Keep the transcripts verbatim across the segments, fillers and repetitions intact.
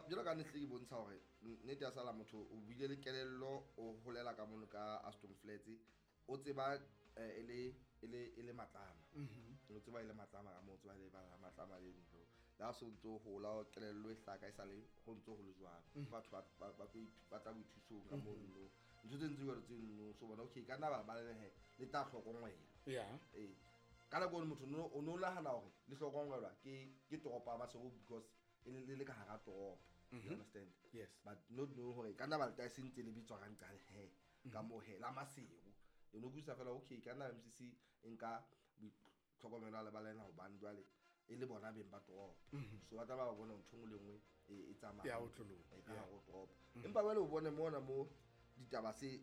jwalo ka ne hle ke bontsha hore nnete ya sala motho o buile le kelello o holela ka mono ka Aston Flats o tseba e le e le e le matlama o tseba e le matlama ka mo tseba le ba matlama le ntlo la so ntso hola kelello e hlaka e sale ho ntso ho le jwalo batho ba ba ba tla boithusong ka mono ntho tse ntse jwalo tse nno so bona okay ka nna ba ba le he le tla hlokongwela yeah eh ka nako e motho no o no nahana hore le hlokongwelwa ke ke toropo ya Maseru because e le le ka hara toropo. You understand? Yes. But not know hore ka nna ba le se ntse le bitswa ka nqale he ka mo he la Maseru. You know kusa fela okay ka nna M C C nka tlhokomelo le ba lena hobane jwale e le bona beng ba toropo. So ba tla ba bona ntho nngwe le nngwe e tsamaya. Ya otloloha. E ka hara toropo. Empa jwale o bone mona mo ditaba se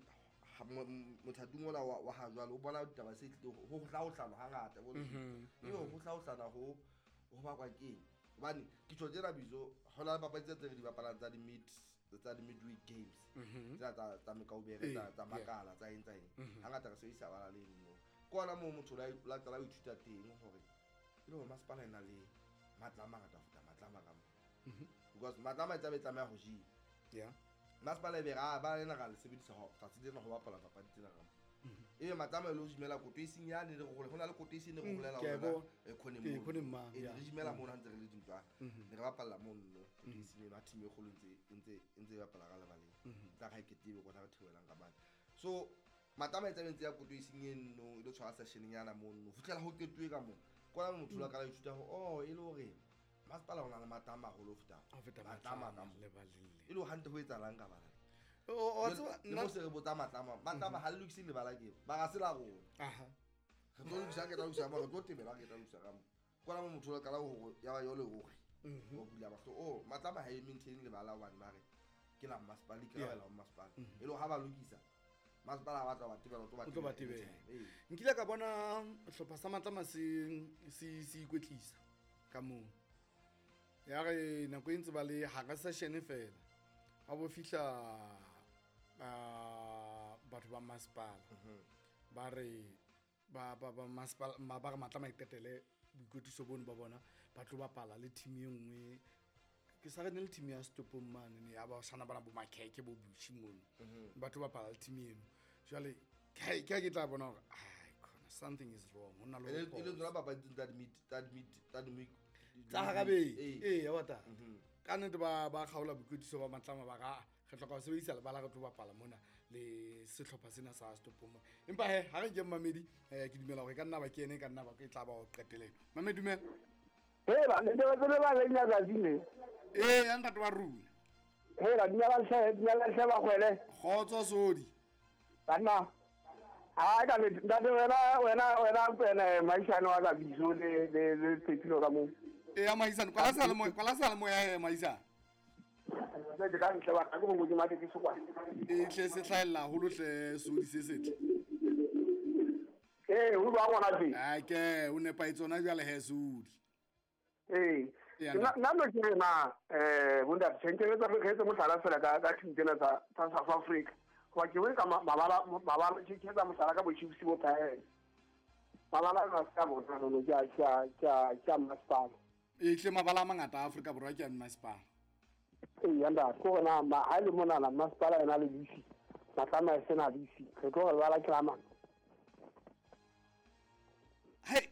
mothating ona wa ha jwale o bona ditaba se tlile ho hlaohlana hangata bo ebe ho hlaohlana ho ho bakwa keng hobane ke tjho tsena bizo ho la papadi tse re di bapalang tsa di mid tsa di midweek games tsa tsa tsa mekaubere tsa tsa makala tsa eng tsa eng hangata re sebedisa bala le nno ke ona moo motho la la qala ho ithuta teng hore e le hore masepala ena le matla a mangata ho feta matla a mang because matla a mang tsa be tlameha ho jewa yeah masepala e be ra ba lena ra le sebedisa ho tsatsi lena ho bapala papadi tsena ka mo ebe matlama le o jimela koto e seng yane re go hona le koto e seng re bolela hore e khone mo e re jimela mo na ntse re le dintwa ne re bapalla mo nno koto e seng eno a team e kgolo ntse ntse ntse e bapala ka lebaleng tla ga ke tebe kona re theohelang ka mane so matlama e tsabentse ya koto e seng eno e lo tshwara session nyana mo nno fihlela ho qetuwe ka mo kona motho la ka la ithuta ho oh e le hore masepala o na le matlama haholo ho feta matlama ka mo e le hantle ho etsahalang ka bana o tseba nna se re botsa matlama matlama ha le lokise lebala ke ba ga se la rona aha re tlo lokisa ke tla lokisa mo re tlo tebela ke tla lokisa ka mo kona mo motho la kala ho ya ba yo le hore o bula mahlo oh matlama ha e maintain lebala hobane ba re ke la masepala ke la la masepala e le ha ba lokisa masepala ba tla ba tebela o tlo ba tebela nkile ka bona hlopha sa matlama se se se ikwetlisa ka moo ya re nako e ntse ba le hara session fela ha bo fihla batho ba masepala ba re ba ba ba masepala ba re matlama iqetele boikwetliso bono ba bona ba tlo bapala le team e nngwe ke sa re ne le team ya Stopong mane ne ya ba sana bana bo Makheke bo Bushi mono ba tlo bapala le team eno jwale ke ke ke tla bona hore ai khona something is wrong ho na le e le tsona papadi tsa mid tsa mid tsa mid tsa harabe eh ya wata ka nnete ba ba kgaola boikwetliso ba matlama ba ga re hloka ho sebedisa lebala re tlo bapala mona le sehlopha sena sa Stopong empa he ha re ke Mamedi ke dumela hore ka nna ba ke ene ka nna ba ke tla ba o qeteleng Mamedi dumela he ba ne ba tsebe ba le nyatsatsi ne eh ya ntate wa rona he ra dumela hle dumela hle ba kgwele kgotso sodi banna ha ka le ntate wena wena wena wena maisane wa ka bizo le le le phepilo ka mo e ya maisane kwala sala mo kwala sala mo ya maisane ke ka ntle ba ka go go mate ke sokwa e tle se tlhaella haholo hle sodi se setle eh ho ba ngwana teng a ke o nepa tsona jwale he sodi eh nna nna no ke na eh bunda tshentse tsa re tse mohlala fela ka ka team tsena tsa tsa South Africa wa ke we ka mabala mabala ke ke tsa mohlala ka bochipsi bo phae mabala ka ska bona no ja ja ja ja masipala e tle mabala a mangata a Afrika Borwa ke a masipala e yanda ko na ma ha le mona na masipala ena le bisi matlama e sena bisi re tlo re bala ke la mang hey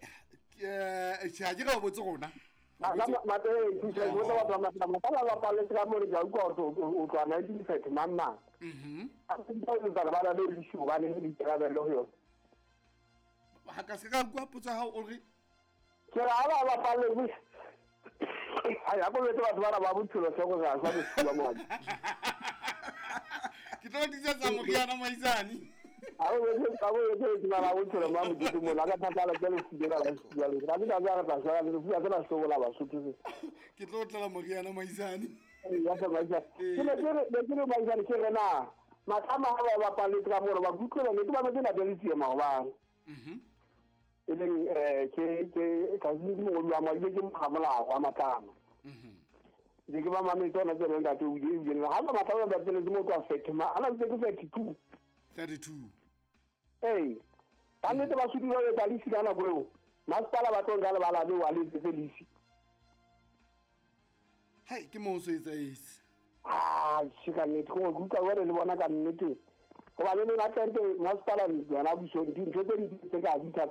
eh tjha ke ga botse rona ma ma te ke go tla ba ma ma ba ba le ka mo re ja utlwa o tla nineteen thirty mama mhm a se ba ba le bisi ba le dikarabelo ho yona ha ka se ka bua potso ha o re ke ra ba ba pa le bisi ai a go batho ba ba bophelo se go ga sa bophelo mo ke tlo ditsa moriana maisane a go ka go ke ba ba bophelo ma modimo mo la ka thatala ke le fidela la fidela le ra ka ga ra sa le fia tsela so la ba sotho ke tlo tlela moriana maisane ya sa maisane ke le ke le ke le maisane ke re na matlama ha ba ba le ka mo ba kutlwa le ke ba ba na le tsie maobane mhm e leng eh ke ke ka ke mongodi wa madi ke mogamolao wa matlama mhm ke ke ba mametse ona tsena ntate o ile ile ha ba matlama ba tsene ke motho wa fethe ma ana ke ke thirty-two thirty-two ee ba nnete ba sudi ba etsa lisi ka nako eo masepala ba tlo nka lebala leo a le etsetse lisi Hai ke mo so etsa ese. Ah, se ka nnete go utlwa wena le bona ka nnete. Gobane le hantle masepala yona puso dintho tse di tse ka di tse